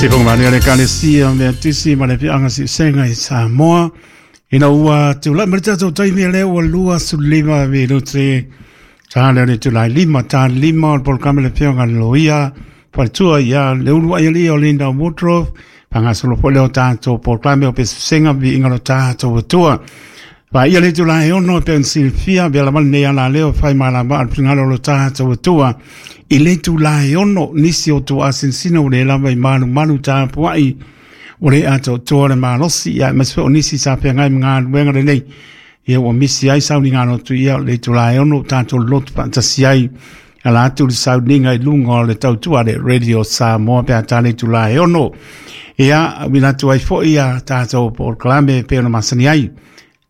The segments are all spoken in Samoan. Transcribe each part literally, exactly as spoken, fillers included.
Sifonga mani o le kalesia mea tisi ma le pianga si senga i Samoa. Ina ua tūlai ma le tatou taimi lea ua lua sulima minute. Tā lea le tūlai lima, tā lima o le polokame le pionga le loia. Faletua ia le ulu ai ali o Linda Woodruff. Pangasolo po leo tātou polokame o pesusenga vi inga lo tātou atua. Fa ia le tūlai ono pensilfia bela mal nei ala leo fai malama al pingalo lo tātou atua. I le tūlai ono nisi o tō asinsina o le lava i malu malu tāpuai o le ato toa le malosi ia mas o nisi sa pea ngai mga luenga le nei ia ua misi ai sauni ngā lotu ia le tūlai ono tātou lotu patasi ai ala atu le sauninga i lunga o le tautua le Radio Samoa pea tā le tūlai ono ia winatu ai fo ia tātou polokalame pe ona masani ai.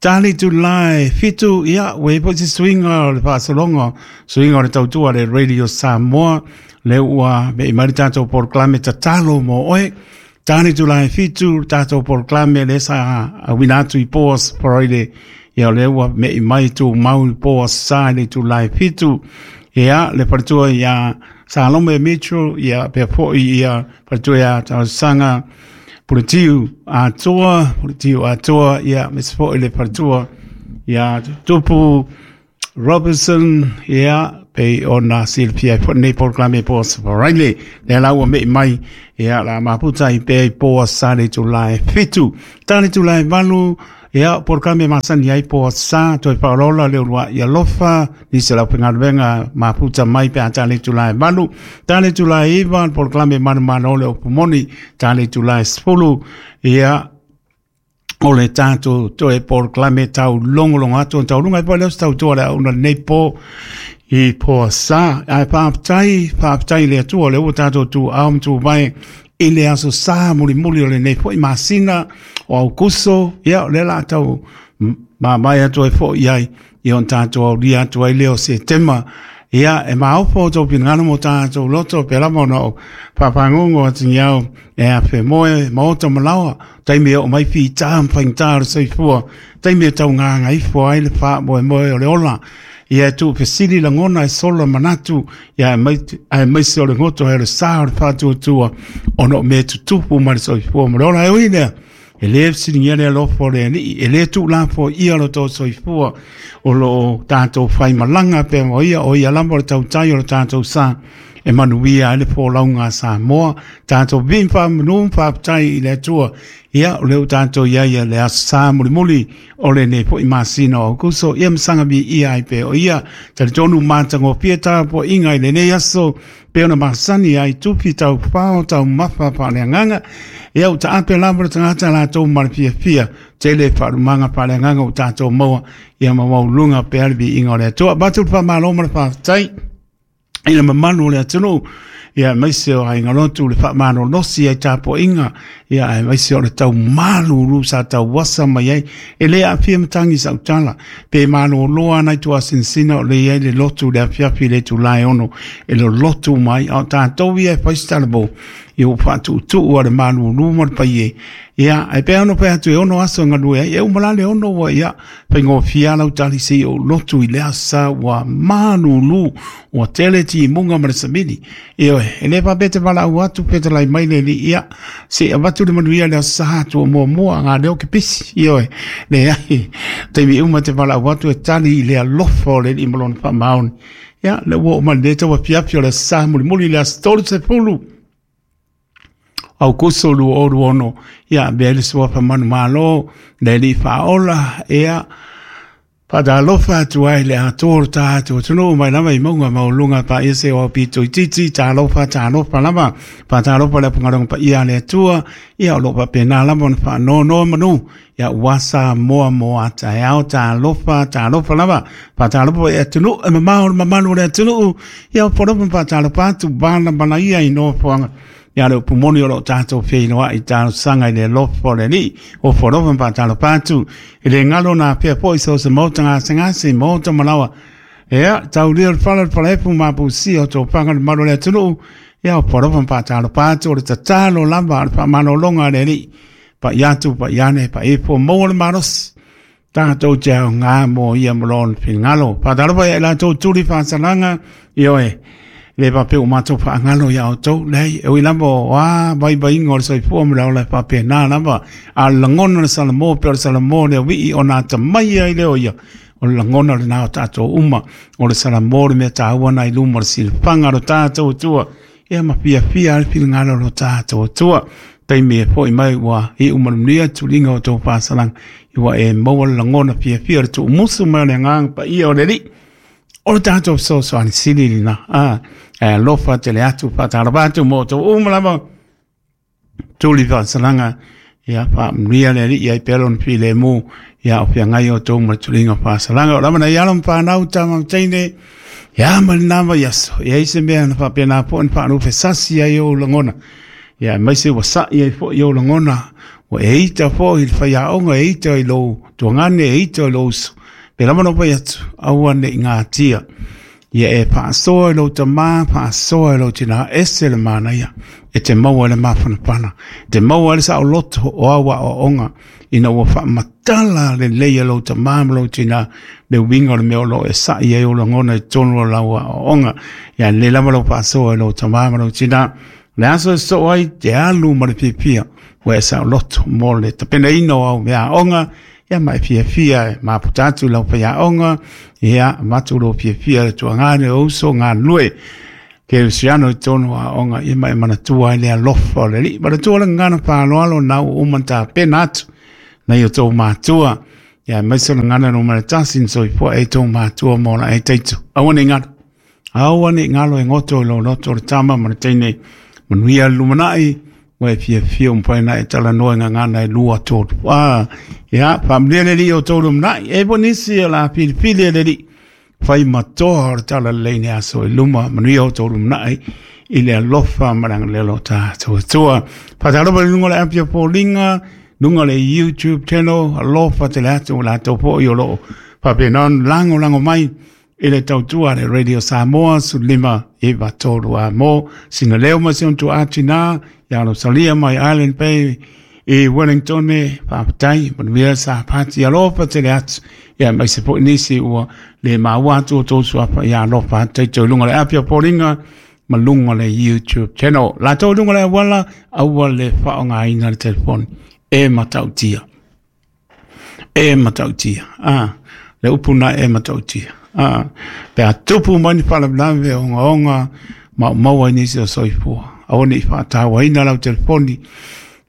Tali tūlai fitu, ia, ue po si suinga o le whaasolonga, suinga o le tautua le Radio Samoa, le ua me i mari tātou polokalame tatalo mo oe. Tali tūlai fitu, tātou polokalame le sa a winatu i poas paroile, ia le ua me i mai tū mau i poas sa le tūlai fitu. Ia, le paritua ia Salome Mitchell, ia pea po ia paritua ia tausanga, Puletiu atoa, puletiu atoa, ia, mes po le paritua, ia, Tupu Robertson, ia, pe ona silpia po nei polokalame po sa paraile, le la ua me mai, ia, la maputa i pe po sa le tūlai fitu. Tane tūlai valu, ia, polokalame masani ai po sa, toi paolola le ulua ia lofa, nisi lau pengaluenga maputa mai pe tane tūlai valu. Tane tūlai iwa, polokalame manumano le opumoni, tane tūlai spulu, ia, o le tātou toe polokalame tau longolongo atu, tau lunga i po leo tau toa le auna nei po, i po sa, ai pāptai, pāptai le atua, le ua tātou tū au tū mai, i le aso sa muli muli o le nei po i masina, o au kuso, ia, le la tau, ma mai atu ai fo i ai, i on tātou au ria atu ai leo se tema, ia, e maopo o tau pingano mo tātou loto, pe lama ona o papangongo atu ni au, e a pe moe, maota malawa, taimi o mai fi tā mpaing tā o soifua, taimi e tau ngā ngaifo ai le wha moe moe o le ola, ia e tū pesili langona e sola manatu, ia e mai, e mai se o le ngoto e le sa o le whātua ono me tutupu ma le soifua mo le ola e oi lea. E le siringia le alofo le ni, e le tū lafo ia lo tō soifua o lo tātou whai malanga pe mo ia o ia lamba o le tautai o le tātou sa e manuia ai le pōlaunga Samoa, tātou vimpa manu whāptai i le atua, ia o leo tātou ia ia le asa muli muli o le nei po i masina o kuso, ia masanga mi ia ai pe o ia, tali tonu mātango pia po inga i le nei aso, pe ona masani ai tupi tau pao tau mawha pa le anganga, ia o ta ape lava le tangata la tau marapia pia, tele wharumanga pa le anganga o tātou maua, ia mawau lunga pe albi inga o le atua. Batu pa malo ma le whātai, i le mamanu o le atunu, ia maise o ai ngalotu le whaamano losi ai tāpo inga, ia ai maise o le tau malulu sa tau wasa mai ai, e le apia matangi sa utala, pe malo loa nai tua sinsina o le iai le lotu le apiapi le tūlai ono, e le lotu mai, au tātou ia e paistalabo, i o whaatutu a le malulu ma le pai e. Ia, ai pe ono pe atu e ono aso ngalue ai, e umalale ono wa ia, whaingo fia lau tali si o lotu i lea sa wa malulu, wa tele ti munga ma le samini. Ia oe, e le papete wala au atu pete lai mai le li ia, se avatu le manuia lea sa atu o mua mua ngā leo ke pisi. Ia oe, le ai, teimi uma te wala au atu e tali i lea lofa o le li malona wha maoni. Ia, le ua o maleta wa piapi o lea sa muli muli lea stori se pulu. Au kuso lu oru ono, ia, bele sua pa manu malo, le li whaola, ia, Whadalofa atu ai le atoa tātou tunu mai lava i maunga maulunga pa ia se o pito i titi, tālofa, tālofa lava, pa tālofa le pungaronga pa ia le atua, ia o lopa pēnā lava ona wha no no manu, ia wasa moa moa ta ao tālofa, tālofa lava, pa tālofa e atunu, e mamao mamalu le atunu, ia o poropa pa tālofa atu bala bala ia i no poanga. Ia le upumoni o lo tātou whinoa i tālo sanga i le lofo le li, o whorofa pa tālo pātu, i le ngalo nā pia po i so se mōta ngā sengase, mōta malawa. Ia, tau lia le whala le whalepu mapu si o tō panga le malo le atunu, ia o whorofa pa tālo pātu, o le tatalo lava, le whamanolonga le li, pa iatu, pa iane, pa ipo, mō le marosi. Tātou te au ngā mō ia molon whingalo. Pa tālo pa e la tō turi whāsalanga, i oe. Le pape o matou faagalo ia outou, leai, e ui lava o a vaivaiga o le soifua ma le ola e faapena lava, a o le lagona o le Salamo pe o le Salamo le auii ona atamai ai lea o ia, o le lagona lenā o tatou uma, o le Salamo le mea taua na i luma o le silafaga o lo tatou Atua, ia ma fiafia ai le finagalo o lo tatou Atua. Taimi e fo'i mai ua iu manuia tuliga o tou faasalaga, ua e maua le lagona fiafia o le tuumusu mai o le agaga paia o le Alii. O le tatou fesoasoani sili lena, a, e alofa tele atu faatalova atu mo outou uma lava tuli faasalaga, ia faamanuia le Alii ai pea lona filemu, ia o feagai outou ma le tuliga faasalaga. O lava nai alo ma fanau tama ma teine, ia ma lena vaiaso, e ai se mea na faapena foi ona faanufesasi ai ou lagona, ia aemaise ua sa'i ai foi ou lagona, ua e ita foi i le faiaoga, e ita i lou tuagane, e ita i lou uso, pe lava na fai atu, aua ne i gatia. Ia e faasoa i lou tamā, faasoa i lou tinā, ese le manaia, e te maua i le mafanafana, e te maua i le saoloto o au aoaoga, ina ua faamatala lelei e lou tamā ma lou tinā le uiga o le mea o lo o e sa'i ai ou lagona i totonu o lau aoaoga. Ia lelei lava lau faasoa i lou tamā ma lou tinā. O le aso e sosoo ai, te alu ma le fiafia, ua e saoloto mo le tapenaina o au meaaoga, ia ma e fiafia e maputa atu i lau faiaoga, ia avatu lou fiafia i le tuagane o uso galulue kerisiano i totonu o aoga, ia ma e manatua ai le alofa o le Alii. Manatua le gagana faaaloalo na ua uma ona tapena atu nai o tou matua, ia aemaise o le gagana numera tasi na soifua ai tou matua mo la e taito. Aua ne i galo, aua ne i galo e goto i lou loto o le tama ma le teine, manuia le lumanai, ua e fiafia ua mafai ona e talanoa i gagana e lua tolu. Ah, ia, faamanuia le Alii o outou lumanai. E po nisi o le a filifili e le Alii, fai matoa o le talalelei i le aso i luma, manuia outou lumanai i le alofa ma le agalelei o lo tatou Atua. Faatalofa i luga o le api o foliga, luga o le YouTube channel, alofa tele atu o latou foi o lo o faapena ona lagolago mai i le tautua a le Radio Samoa sefulumaga iva tolu a mo sina leo ma si ona tuaa tinā ia Rosalia mai Island Bay i Wellington faafetai manuia sa pati alofa tele atu ia aemaise foi nisi ua le maua atu o tou suafa ia alofa atu taito i luga o le api o foliga ma luga o le YouTube channel. Latou i luga o le auala, aua le faaaogaina le telefoni e matautia. E matautia. Ah, le upu na e matautia. Ah, pe a tupu mai ni faalavelave ogaoga maumau ai nisi o soifua. Aua ne i faatauaina lau telefoni.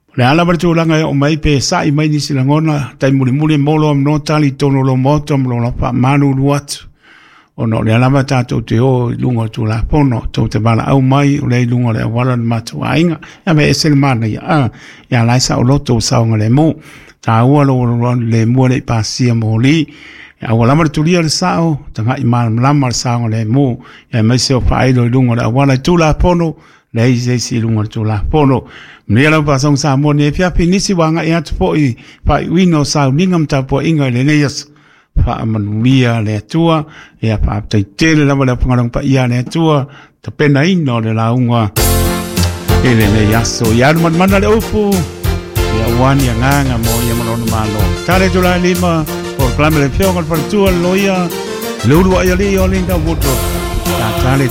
O le a lava le tulaga e oo mai pe sa'i mai nisi lagona, tai mulimuli mo lo amanoa tali i totonu o lou maota ma lou lafaamalulu atu. Ona o lea lava tatou te o i luga o le Tulafono, tou te valaau mai o lea i luga o le auala o le matou aiga. Ia me ese le manaia, a, ia la e saoloto ua saogalemu. Taua lou alualu lemu e le i pasia moli. Ia aua lava le tulia o le sao, tagai malamalama le saogalemu, ia aemaise o faailo i luga o le auala i Tulafono, leai se isi i luga o le Tulafono. Manuia lau faasoga Samoa nei afiafi, nisi ua agai atu foi i faaiuina o sauniga ma tapuaiga i lenei aso. Faamanuia le Atua, ia faafetai tele lava le aufaigaluega paia a le Atua, tapenaina o le lauga i lenei aso. Ia alu manumanu le upu, ia aua ni agaga mo ia ma lona Malo. Tale itula e lima, polokalame le Afioga i le Faletua le Loia, le Uluai Alii o Linda Woodruff. Tale